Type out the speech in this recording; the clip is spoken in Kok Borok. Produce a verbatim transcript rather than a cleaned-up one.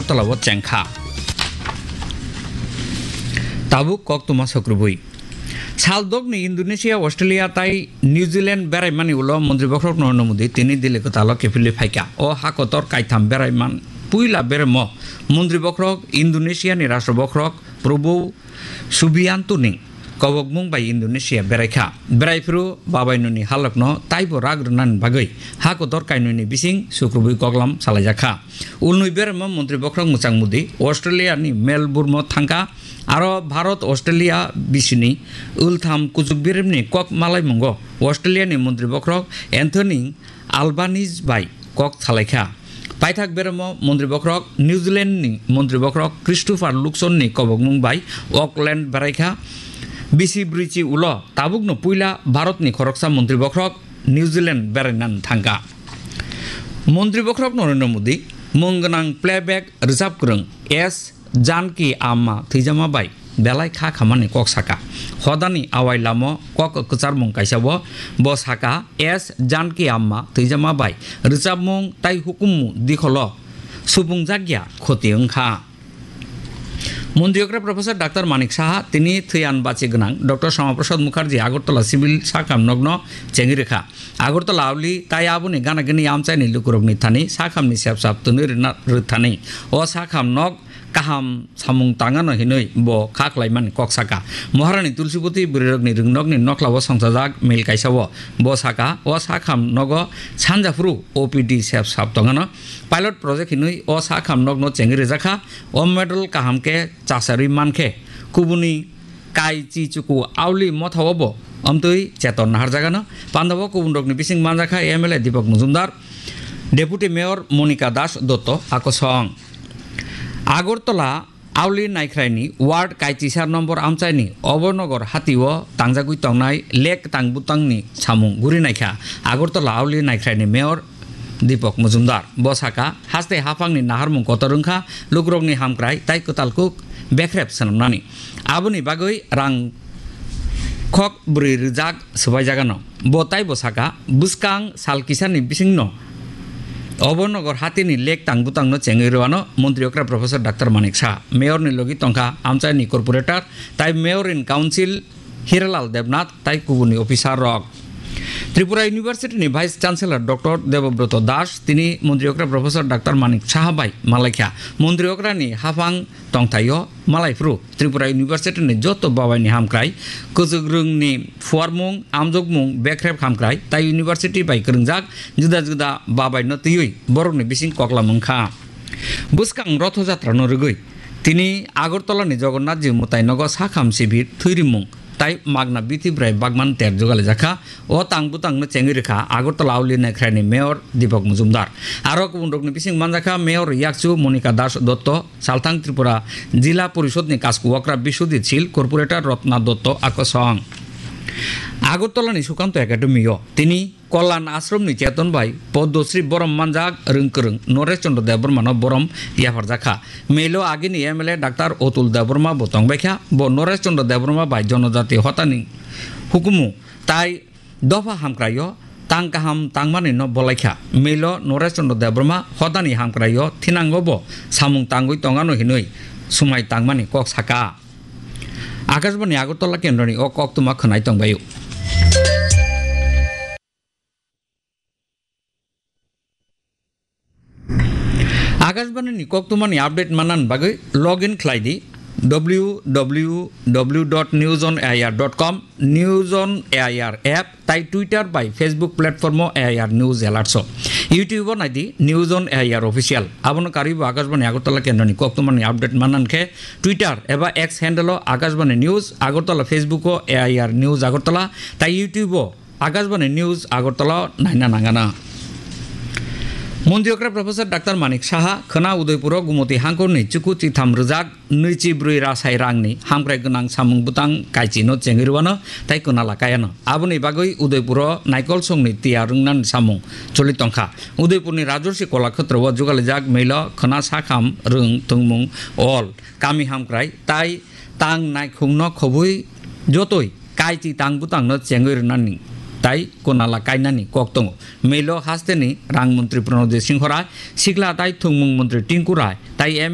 tolao chengkha. Tabuk koktwma sokrubui. Saldokni Indonesia, Australia tai New Zealand beraimani ulo Montri Bokhorok Narendra Modi tini Delhi kwtalo kiphilwi phaikha. O hakotor kaitham beraiman puila beremo Montri Bokhorok Indonesia ni Rashtra Bokhorok Prabowo Subianto ni kobokmung bai Indonesia beraikha. Beraiphuru babainoni halokno taibo rak rwnani bagwi hakotor kainwini bising sukrubui koklam salaijakha. Ulnwi beremo Montri Bokhorok Mwchang Modi Australia ni Melbourne o thangkha. Aro Bharat Australia bisini ultham kuchuk birimni kok malaimungo Australia ni Montri Bokhorok Anthony Albanese bai kok salaikha. Paithak beremo Montri Bokhorok New Zealand ni Montri Bokhorok Christopher Luxon ni kobokmung bai Auckland beraikha. Bisi bwrwichi ulo tabukno puila Bharat ni khoroksa Montri Bokhorok New Zealand berainani thangkha. Montri Bokhorok Narendra Modi mung gwnang playback rwchap kwrwng S Janki Amma thwijama bai belai kha khamani kok saka. Hodani awai lamo kok kwcharmung kaisa bo, bo saka S Janki Amma thwijama bai rwchapmung tai hukumu dikholo subungjak ya khoti wngkha. Montri okra Professor Doctor Manik Saha tini thwiyan bachi gwnang Doctor Shama Prasad Mukherjee Agartala Civil Sakham nokno chengwi rwkha. Agartala auli tai aboni gana gini amchaini lukurokni thani sakhamni sepsap twnwi rwna rwthani. O sakham nok kaham samung tangano hinwi bo kha khlaimani kok saka. Maharani Tulsiboti bwrwirokni rwngnokni nokhlao songchajak mil kaisao bo saka, o sakham nogo sanja phuru O P D sepsap tongano. Pilot project hinwi o sakham nokno chengwi rwjakha. O model kaham khe chasarwi mankhe kubuni kai chi chuku auli mothao bo amtwi cheton naharjagano. Pandao kubunrokni bising manjakha M L A Deepak Majumdar, Deputy Mayor Monika Das Dotto akosong. Agartala auli naikhraini ward kaichisar nombor amchaini Obonogor hatio tangjagwi tongnai lek tang butangni samung guri naikha Agartala auli naikhraini Mayor Deepak Majumdar. Bo saka, haste haphangni naharmung kotor wngkha, lukurokni hamkrai tai kwtal kuk bekrep swnamnani. Aboni bagwi rang khok bwrwi rwjak swbaijagano. Bo taibo saka, bwskang sal kisani bisingno Obonogor hatini lek tang butangno chengwi rwano Montri okra Professor Doctor Manik Saha. Mayorni logi tongkha amchaini corporator tai Mayor in Council Hiralal Debnath tai kubuni officer rok. Tripura University ni Vice Chancellor Doctor Debobroto Das tini Montri okra Professor Doctor Manik Saha bai malaikha. Montri okra ni haphang tongthaio malaiphuru Tripura University ni joto babai ni hamkrai, kwchwk rwng ni phuarmung, amjokmung, bekrep hamkrai tai University bai kwrwngjak juda juda babai no twiwi borok ni bising koklam wngkha. Bwskang Rotho Jatra no rwgwi tini Agartala ni Jagannath Ji mwtai nogo sakham sibir, thwirimung tai magna bithi bwrai bagman ter jugalijakha. O tang butang no chengwi rwkha Agartala auli naikhrai ni Mayor Deepak Majumdar. Aro kubun rok ni bising manjakha Mayor yakchu Monika Das Dotto, Salthang Tripura Jila Porishod ni kasku okra Biswajit Sil, Corporator Rotna Dotto akosong. Agartala ni Sukanto Academy o tini Kalyan Ashram ni cheton bai Padma Shri borom manjak rwng kwrwng Naresh Chandra Debbarma no borom yapharjakha. Melo agini M L A Doctor Atul Debbarma bo tongbaikha. Bo Naresh Chandra Debbarma bai Jonojati Hotani hukumu tai dopha hamkraio tang kaham tangmani no bolaikha. Melo Naresh Chandra Debbarma Hotani hamkraio thinango bo samung tangwi tongano hinwi sumai tangmani kok saka. Akashbani Agartala kendroni o koktwma khwnai tongbaio. Akashbani ni koktwmani update manna bagwi log in khlai di W W W dot news on A I R dot com, News on A I R app tai Twitter bai Facebook platform o A I R News Alerts o. YouTube o nai di News on A I R Official. Abono karwi bo Akashbani Agartala kendroni koktwmani update manna khe Twitter eba X handle o Akashbani News Agartala, Facebook o A I R News Agartala tai YouTube o Akashbani News Agartala naina nangana. Montri okra Professor Doctor Manik Saha khwna Udaipuro Gumoti hangkorni chuku chitham rwjak nwichi bwrwi rasai rangni hamkrai gwnang samung bwtang kaichino chengwi rwano tai kwnala kayano. Aboni bagwi Udaipuro naikolsongni tiya rwngnani samung choli tongkha. Udaipurni Rajorsi Kolakshetra o jugalijak melo khwna sakham rwng thwngmung ol kami hamkrai tai tang naikhungno khobwi jotoi kaichi tang bwtangno chengwi rwnani tai kwnala kainani kok tongo. Melo hasteni rang montri Pranojit Singho Rai, sikla tai thwngmung montri Tinku Rai tai M